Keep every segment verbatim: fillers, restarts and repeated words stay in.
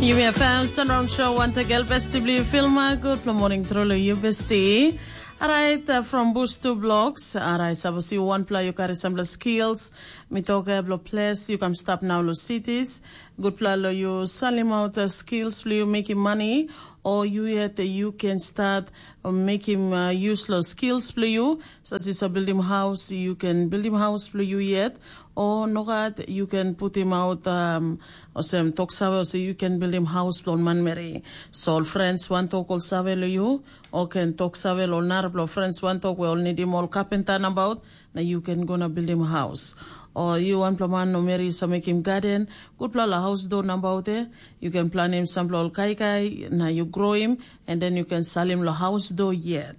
Yumi FM Sunround Show, wantagal besti bli filma. Good for morning, truly, you besti. Alright, uh, from bush to blocks. Alright, sapos yu wanpela yu kari sampela skills, mi toke blo ples, yu kam stap nau lo cities. Gutpela lo yu salim out uh, skills blo yu mekim money, o yu yet uh, yu can start uh, mekim uh, use lo skills blo yu. Sas yu sa building house, you can building house blo yu yet. O nogat, you can put him out um, osem tok save, osem you can build him house blo manmeri. So ol friends wan tok ol save lo you, o can tok save lo narapela friends wan tok we ol nidim ol kapenta nabaut, na you can go na build him house. O you wanpela man no meri sa mekim garden, gutpela la house do nabaut e, you can plan him sampela ol kaikai, na you grow him, and then you can sell him lo house do yet.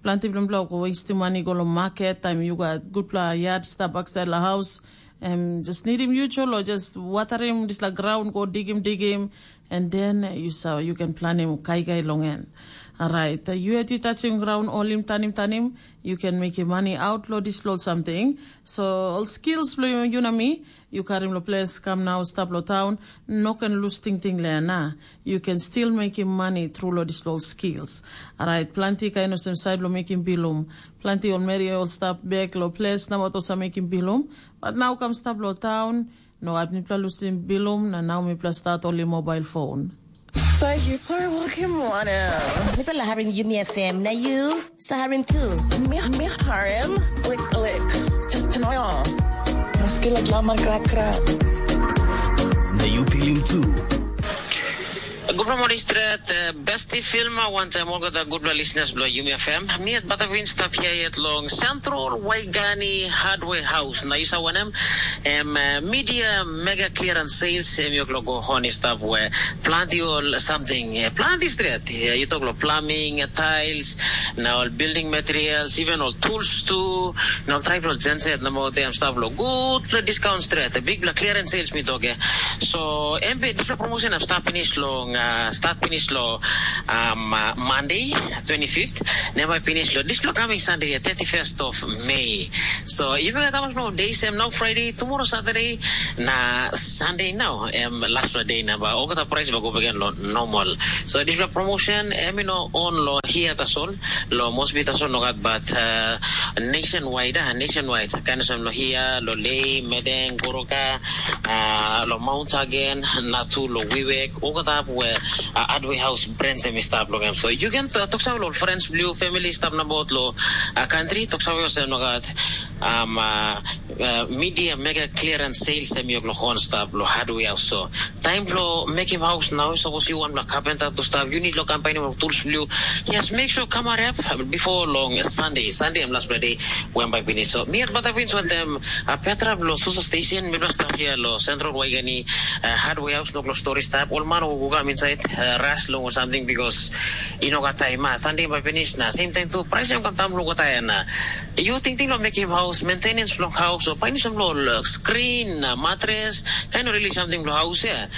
Planti bilong bilong go wastim mani go long market, taim yu gat gutpela yard stap baksait long haus, em just nidim yu cholo, just watarim dispela graun, go digim digim, and then you sa you can planim kaikai long en. Alright, yu yet yu touchim graun, olim tanim tanim, you can mekim mani out lo dispela ol samting. So ol skills bilong yu na mi, yu karim lo ples, kam nau stap lo taun, no ken lus tingting le na. You can still mekim mani tru lo dispela ol skills. Alright, planti kain olsem sait bilong mekim bilum. Planti ol meri ol stap bek lo ples na wat olsem mekim bilum. Bat nau kam stap lo taun, no at mipela lusim bilum na nau mipela stat oli mobile phone. Sa yu pur wokim wanem? Mipela harim Yumi F M na yu sa harim tu. Mi, mi harim, like, like, t-, tanoyo. Maski lagi laman krak-krak. Na yu pilim tu. Gupla moni stret, eh, besti filma wantaim olgeta gutpela listeners bilong Yumi F M. Mi at Batavin stap hia yet long Central Waigani Hardware House. Na yu sa wanem? Em, eh, media mega clearance sales, em yuk lo go hon i stap we planti ol something, eh, planti stret. Eh, yu tok lo plumbing, eh, tiles, na ol building materials, even ol tools tu, na ol traipela ol genset na motem stap lo gutpela discount stret. Bikpela clearance sales mi tok, eh. So, em be dispela promotion ap stap finish long, uh, start finish lo, um, uh, Monday, twenty-fifth. Never finish lo dispela coming Sunday, eh, thirty-first of May. So, yumi gat hamas long day sem nau Friday, tomorrow Saturday, na Sunday nau, em last day na ba, olgeta price ba go back lo normal. So, dispela promotion, em you know, on lo hia tasol, lo Mosby tasol no gat, but uh, nationwide, ah, nationwide. Kain olsem lo hia, lo Lei, Medeng, Goroka, uh, lo Mount Hagen, na tu lo Wiwek, olgeta we uh, Adway House brands em i stap long em. So, you can uh, talk some lo friends, blue family stap na bot lo uh, country, talk some olsem no gat. Um, uh, uh, media mega clearance sales em yuk lo hon stap lo hardware so. Time lo mekim house now, suppose you want lo carpenter to stap, you need lo company lo tools blue. Yes, make sure come up before long Sunday. Sunday em last day when by finish. So me at Batavins want them a Petra lo Susa station, me stap here lo Central Waigani uh, hardware house no lo story stap. All man who go come inside uh, rush long or something because you know got time. Ah, Sunday by finish na same time too. Price em come time lo go time na. You think thing lo make him house, maintenance lo house, or find some lo uh, screen, uh, mattress, kind of really something lo house, yeah.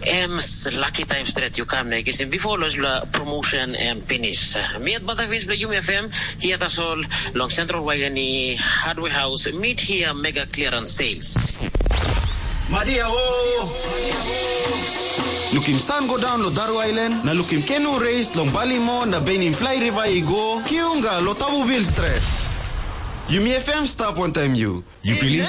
Em lucky time straight you come na kisim before lo la promotion em finish. Me at Batavins lo Yumi F M, here at all long Central Waigani Hardware House, meet here mega clearance sales. Madia o. Lukim san go daun lo Daru Ailan, na lukim kenu reis long Balimo na benim flai riva i go, kiunga lo Tabubil stret. Yumi F M stap wantaim yu. Yu pilim?